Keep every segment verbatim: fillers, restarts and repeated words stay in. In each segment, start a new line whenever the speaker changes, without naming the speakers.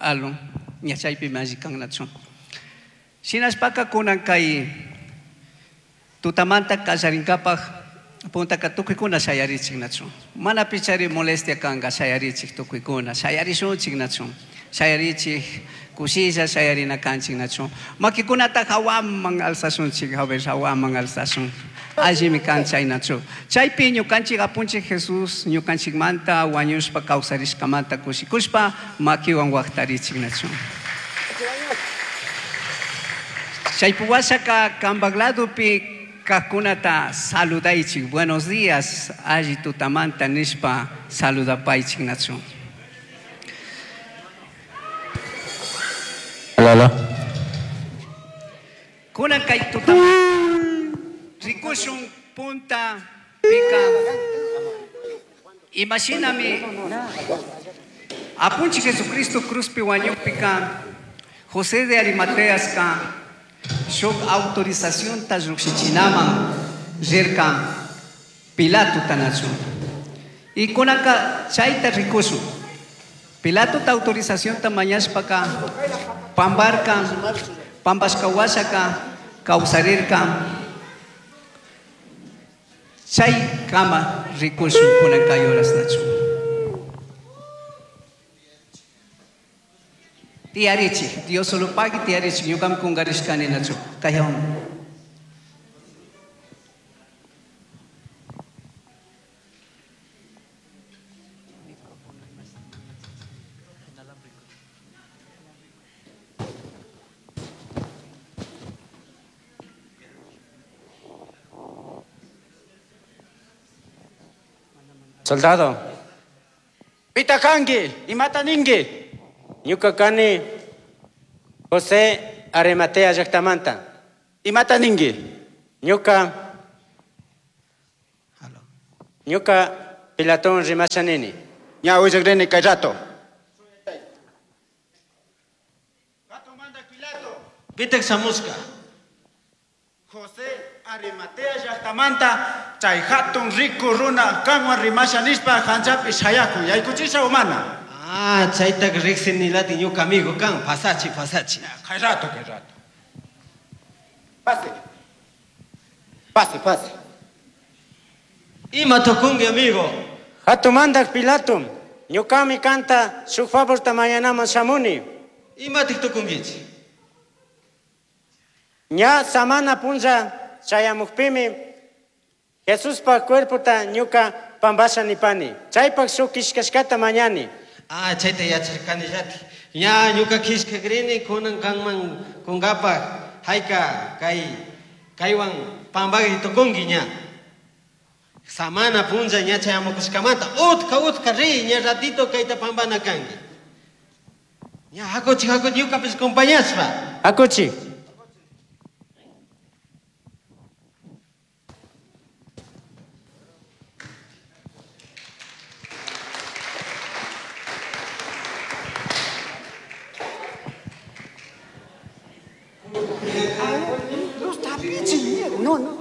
Alon ña chaypimi alli kannachu. Shinashpaka kunan kay tutamanta kallarinkapaj puntaka tukuykuna shayarichik nachu. Mana pichari molestia kanka shayarichik tukuykuna shayarishunchik nachu. Shayarichik kushilla shayarina kanchik nachu. Makikunata hawaman alzashunchik, a ver hawaman alzashun. Allimi kan chay nachu. Chaypi ñukanchik apunchik Jesús ñukanchikmanta wañushpa kawsarishkamanta kushikushpa makiwan waqtarichik nachu. Chaypuwashaka kambak ladopi kajkunata saludaychik, buenos días, alli tutamanta nishpa saludapaychik nachu.
Hola.
Kunan kay tutamanta rikushun punta pika imashinami apunchik Jesucristo cruzpi wañukpika José de Arimateaska shuk autorización ta llukshichinaman rirka Pilato tanachu. Y kunanka chayta rikushun. Pilato ta autorización ta mañashpaka pambarka pambashka washaka kawsarirka chay kama rikushun kunan kay horas nachu. Tiyarichik, Dios solo pagui tiyarichik, ñuqam kungarishkani nachu. Kaywan.
Soldado.
Pita kanki, imata ninki.
Ñuka kani José Arimatea llaktamanta.
Imata ninki.
Ñuka Ñuka Pilatón rimasha nini.
Ña willakrini kay rato.
Pitak shamushka.
José Arimatea llaktamanta chay hatun riku runa kanwan rimasha nishpa hanchapi shayaku yaykuchisha umana.
Ah, chaytak riqsinilati ñuka amigo kan, pasachi, pasachi.
Kay rato, kay rato. Pase. Pase, pase.
Ima tukunki amigo.
Hatumandak Pilato, ñukami kanta shuk favorta mañanaman shamuni.
Imatik tukunkichik.
Ña samana punlla chayamukpimi Jesuspa cuerpota ñuka pambasha nipani. Chaypak shuk kishkashkata mañani.
Ah, chayta yacharkanillati. Ña ñuka kishkakrini kunan kanman kunkapaj hayka kay kaywan pambagri tukunki ña. Samana punlla ña chayamukushkamanta utka utka ri ña ratito kayta pambana kanki. Ña hakuchi hakuchi ñukapish compañashpa.
Hakuchi.
No, no.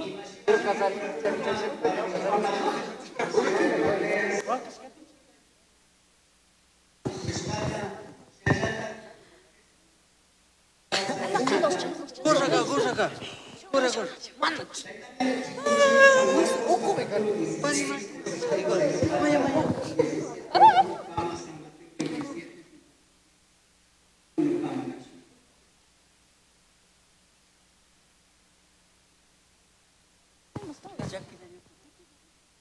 Jack.